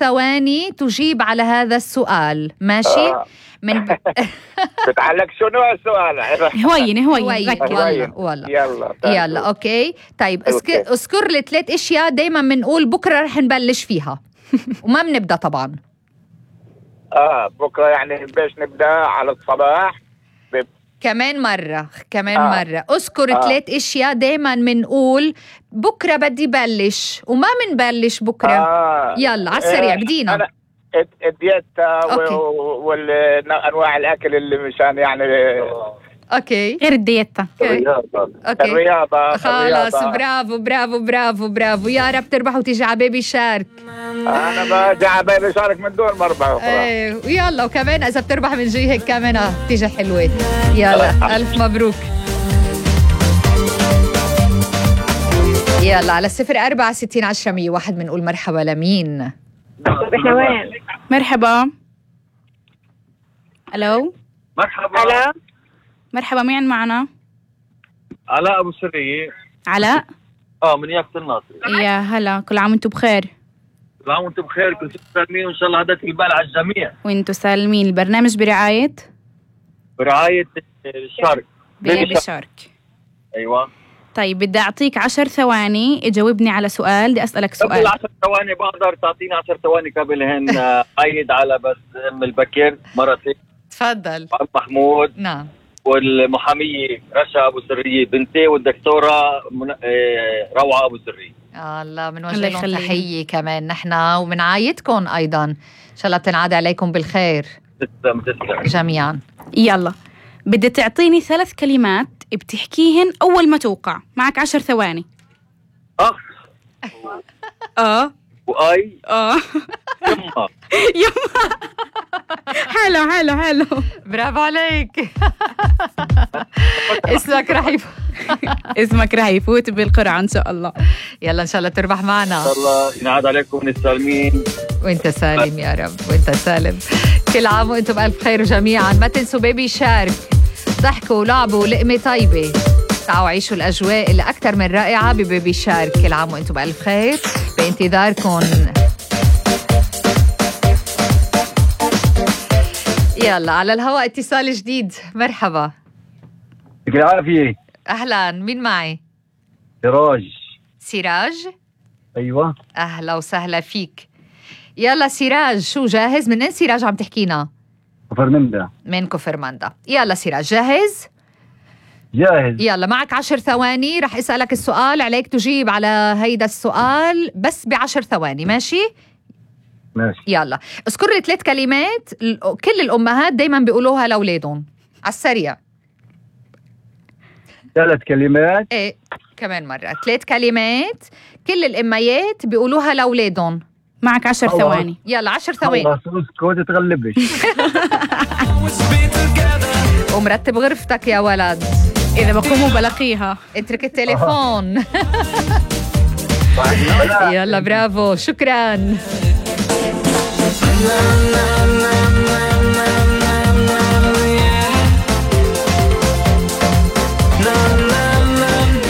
ثواني تجيب على هذا السؤال، ماشي؟ بتعلق شو نوع السؤال؟ هوين يلا اوكي. طيب اذكر لي 3 اشياء دايما بنقول بكره رح نبلش فيها وما بنبدا طبعا. بكره يعني باش نبدا على الصباح. كمان مرة اذكر 3 اشياء دايما بنقول بكره بدي بلش وما بنبلش بكره. يلا على السريع بدينا. الدييتا والانواع الاكل اللي مشان يعني اوكي غير الدييتا. الرياضة. خلاص برافو يا رب تربح وتيجي على بيبي شارك. انا بجي على بيبي شارك من دون مربح. ويلا وكمان اذا بتربح من جي هيك كمان تيجي حلوة. يلا الف مبروك. يلا على 04601001 بنقول مرحبا لمين؟ احنا وين؟ مرحبا. الو مرحبا مين معنا؟ علاء ابو سرية. علاء من يافت الناصري. يا هلا، كل عام وانتم بخير. كل عام وانتم بخير، كل سالمين وان شاء الله هداك البال على الجميع. وانتم سالمين. البرنامج برعاية شارك بيبي شارك. ايوه. طيب بدي اعطيك 10 ثواني تجاوبني على سؤال. بدي اسالك سؤال. قبل 10 ثواني بقدر تعطيني 10 ثواني قبلهن عيد على بس ام البكر مرتي. تفضل. محمود. نعم. والمحامية رشا أبو سرية بنتي، والدكتورة روعة أبو سرية. الله بنوجه لهم تحية كمان نحن وبنعايدكم أيضا، إن شاء الله بتنعاد عليكم بالخير. تسلم جميعا. يلا بدي تعطيني 3 كلمات بتحكيهن أول ما توقع. معك 10 ثواني. وآي. يما. حلو برافو عليك. اسمك رح يفوت بالقرعة إن شاء الله. يلا إن شاء الله تربح معنا. إن شاء الله ينعاد عليكم السالمين. وانت سالم يا رب، وانت سالم. كل عام وانتم بألف خير جميعا. ما تنسوا بيبي شارك، ضحكوا ولعبوا ولقمة طيبة. تعالوا عيشوا الأجواء اللي أكتر من رائعة ببيبي شارك. كل عام وانتم بألف خير، بانتظاركم. يلا على الهواء اتصال جديد. مرحبا. يعطيك العافية. أهلا، مين معي؟ سراج. أيوة. أهلا وسهلا فيك. يلا سراج، شو جاهز؟ منين سراج عم تحكينا؟ كفرمندا. من كفرمندا. يلا سراج جاهز؟ يلا معك 10 ثواني. رح أسألك السؤال، عليك تجيب على هيدا السؤال بس ب10 ثواني. ماشي. يلا اذكر لي 3 كلمات كل الأمهات دايما بيقولوها لأولادهم على السريع. 3 كلمات. ايه كمان مرة 3 كلمات كل الأميات بيقولوها لأولادهم. معك 10 ثواني. يلا 10 ثواني. اسكت تغلبش. ومرتب غرفتك يا ولد. إذا بقوموا بلاقيها. اترك التليفون. يلا برافو، شكرا.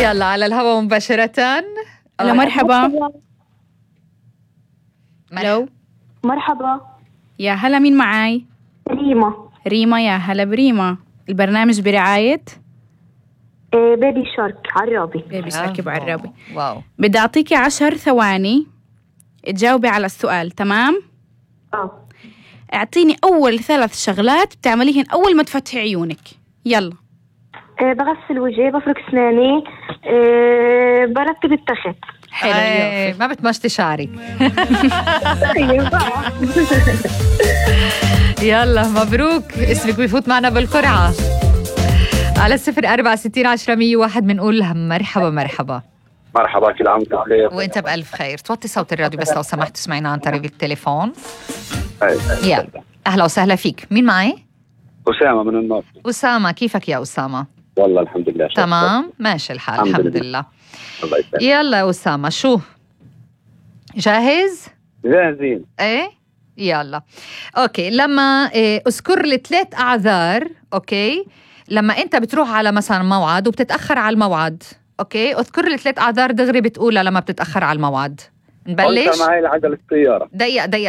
يلا على الهواء مباشرة. هلا مرحبا. مرحبا. يا هلا، مين معاي؟ ريما. يا هلا بريما. البرنامج برعاية بيبي شارك عرابي. بيبي شارك بعرابي. واو. بدي أعطيكي 10 ثواني تجاوبي على السؤال. تمام؟ اعطيني أول 3 شغلات بتعمليهن أول ما تفتحي عيونك. يلا. بغسل وجهي، بفرك اسناني، برتب التخت. حلو. ما بتمشطي شعرك. يلا مبروك، اسمك بيفوت معنا بالقرعة. على 04601001 بنقول مرحبا. كل عام وانت بخير. وانت بألف خير. توطي صوت الراديو بس لو سمحت تسمعينا عن طريق التليفون. يلا أهلا وسهلا فيك. مين معي؟ أسامة من الناصر. أسامة، كيفك يا أسامة؟ والله الحمد لله. تمام ماشي الحال. الحمد لله. يلا يا أسامة، شو جاهز؟ جاهزين. ايه يلا اوكي. لما اذكر لي 3 أعذار. اوكي، لما انت بتروح على مثلا موعد وبتتأخر على الموعد. اوكي، اذكر لي 3 أعذار دغري بتقولها لما بتتأخر على الموعد. نبلش. معي عجل السيارة. دقيقة